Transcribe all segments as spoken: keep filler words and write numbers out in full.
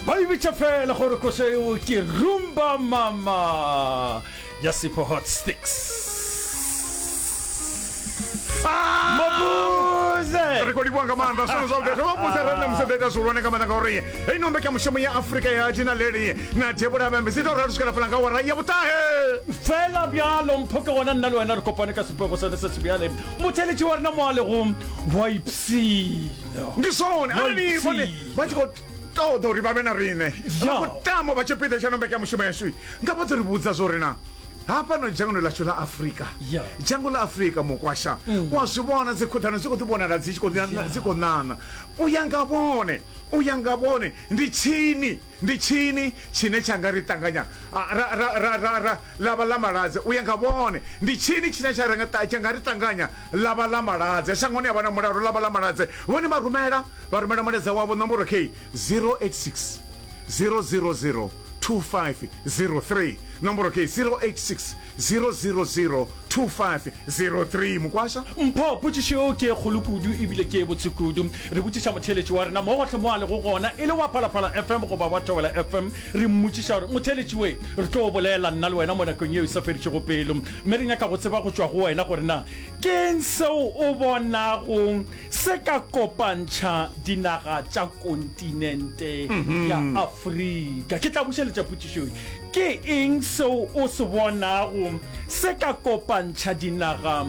Ba e bitša fela gore koša eo ke Rumba Mama ya Sipho Hot Sticks. Mabuze! Ri khou livhuwa nga maanḓa zwino zwavhuḓi ri vha vhudza ra na musebeta zwihulwane nga maanḓa ngauri heyi no mbekanyamushumo ya Afrika ya Dinaledi na Devhula Vhembe dzi ita uri ra swikela fhala nga awara ya vhuṱahe. Fela bjalo mpho ke gona nna le wena re kopane ka sepego sone se se bjale. Motheeletši wa rena mo a lego wa ipshina. Ndi zwone arali vhone vha tshi khou ṱoḓa uri vha vhe na riṋe vha khou tama u vha tshipiḓa tsha no mbekanyamushumo yashu nga vha ḓo ri vhudza zwo ri na hafhano dzhangoni ḽashu ḽa Afrika dzhango ḽa Afrika mukwasha u a zwi vhona dzi khuḓano dzi khou ḓi vhonala dzi tshi khou dzi khou ṋaṋa u ya nga vhone u ya nga vhone ndi tshini ndi tshini tshine tsha nga ri ṱanganya ra ra ra ra ra ḽa vha ḽa maladze u ya nga vhone ndi tshini tshine tsha tsha nga ri ṱanganya ḽa vha ḽa maladze shangoni ha vha na mulalo ḽa vha ḽa maladze vhone vha rumela vha rumela mulaedza wavho nomboro kei zero eight six zero zero zero two five zero three nomboro kei zero eight six zero zero zero two five zero three Mukwasha. Mpho, potšišo yeo ke e kgolo kudu ebile ke e botse kudu. Re botšiša motheeletši wa rena mo gohle mo a lego gona, e le wa Phalaphala F M goba wa Thobela F M, re mmotšiša gore, Motheeletši we, re tlo bolela nna le wena mo nakong yeo e sa fedišego pelo, mme re nyaka go tseba go tšwa go wena gore na ke'ng seo o bonago se ka kopantšha dinaga tša kontinente ya Afrika. Ke tla bušeletša potšišo ye, Ke eng seo o se bonago se ka kopantšha dinaga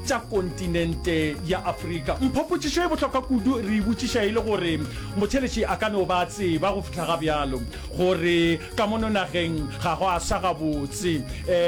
tša kontinente ya Afrika? Mpho, potšišo e bohlokwa kudu re e botšiša e le gore motheeletši a ka no ba a tseba go fihla ga bjalo gore ka mono nageng ga go a sa gabotse.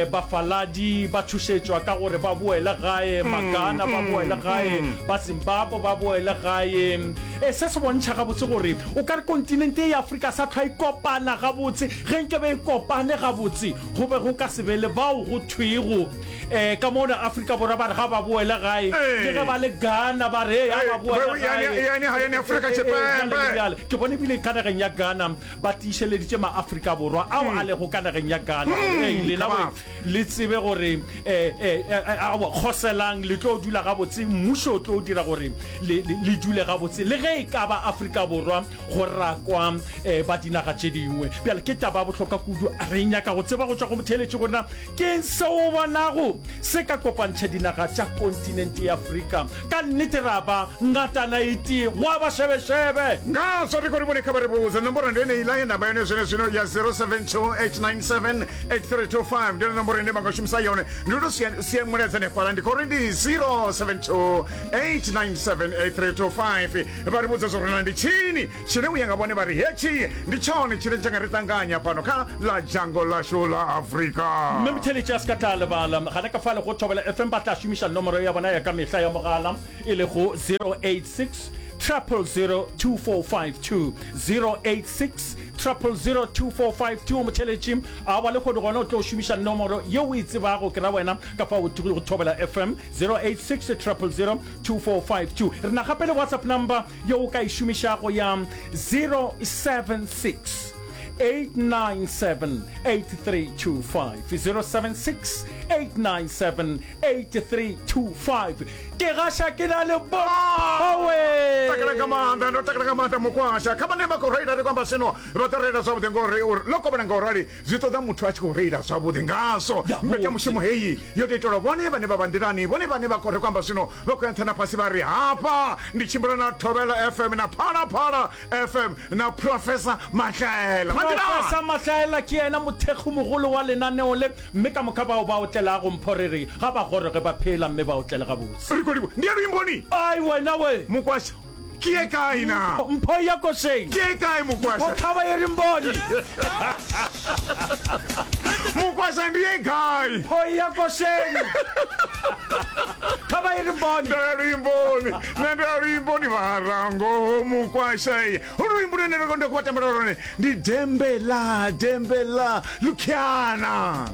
Bafaladi ba tšhošetšwa ka gore ba boele gae, Maghana ba boele gae, ba Zimbabwe ba boele gae. Se se bontšha gabotse gore o ka re kontinente ye ya Afrika sa hlwa e kopana gabotse. Ge nke be e kopane gabotse, go be go ka se be le bao go thwego um ka mono Afrika Borwa ba re ga ba boele gae, le ge ba le Ghana ba re ga ba boele gae. Bjale le bjale. Ke bone ebile ka nageng ya Ghana ba tiišeleditše Maafrika Borwa ao a lego ka nageng ya Ghana gore, Hei, lena we, le tsebe gore aowa, kgoselang, le tlo dula gabotse, mmušo o tlo dira gore le, le, le dule gabotse, le ge e ka ba Afrika Borwa go rakwa ba dinaga tše dingwe. Bjale ke taba ya bohlokwa kudu, re nyaka go tseba go tšwa go motheeletši gore na ke'ng seo o bonago se ka kopantšha dinaga tša kontinente ya Afrika. Ka nnete ra ba ngatana e tee, gwa ba šebešebe. Nga zwo ri khou ri vhone kha vha ri vhudze nomboro ndi yeneiḽa ye nda vha yone zwenezwino ya zero seven two eight nine seven eight three two five ndi yone nomboro ine vha nga shumisa yone. Ndi u tou sia sia mulaedza hanefhaḽa ndi khou ri ndi zero seven two eight nine seven eight three two five vha ri vhudza zwo ri na ndi tshini tshine u ya nga vhone vha ri hetshi ndi tshone tshine tsha nga ri ṱanganya fhano kha ḽa dzhango ḽashu ḽa Afrika. Mme Motheletši a se ka tla lebala gana ka fale go Thobela F M ba tla šomiša nomoro ya bona ya ka mehla ya mogala e lego zero eight six triple zero two four five two, zero eight six triple zero two four five two. Motheletši a wa lehono gona o tlo šomiša nomoro ye o e tsebago, ke ra wena ka fao go Thobela F M zero eight six triple zero two four five two. Re na gape le WhatsApp number ye o ka e šomišago ya zero seven six eight nine seven eight three two five, zero seven six eight nine seven eight three two five. Ke gaša ke na le bowe. Takala nga maanḓa, ndo takala nga maanḓa mukwasha. Kha vhane vha khou reila ri khou amba zwino vha ḓo reila zwavhuḓi ngori ḽo kovhela nga u rali zwi ṱoḓa muthu a tshi khou reila zwavhuḓi ngazwo. Mbekanyamushumo heyi yo tou itelwa vhone vhane vha vha nḓilani, vhone vhane vha khou ri khou amba zwino vha khou ya nṱha na fhasi vha ri hafha ndi tshimbila na Thobela F M na Phalaphala F M na Professor Mahlaela. Ba Professor Mahlaela ke yena mothekgimogolo wa lenaneo le, mme ka moka bao ba otlelago mpho re re ga ba goroge ba phela mme ba otlele gabotse. Re kodimo. Ndi ya luimboni. Ai wena we. Mukwasha. Ke ye kae na? Mpho, mpho ya košeng. Ke ye kae Mukwasha? Mpho thaba ye rimboni. Mukwasha ndi ye kae? Mpho ya košeng. Thaba ye rimboni. Ndo ya luimboni. Nṋe ndo ya luimboni vharango Mukwasha. Ho luimbo lune ndo khou tambela lone ndi Dembela, Dembela, Lukhiana.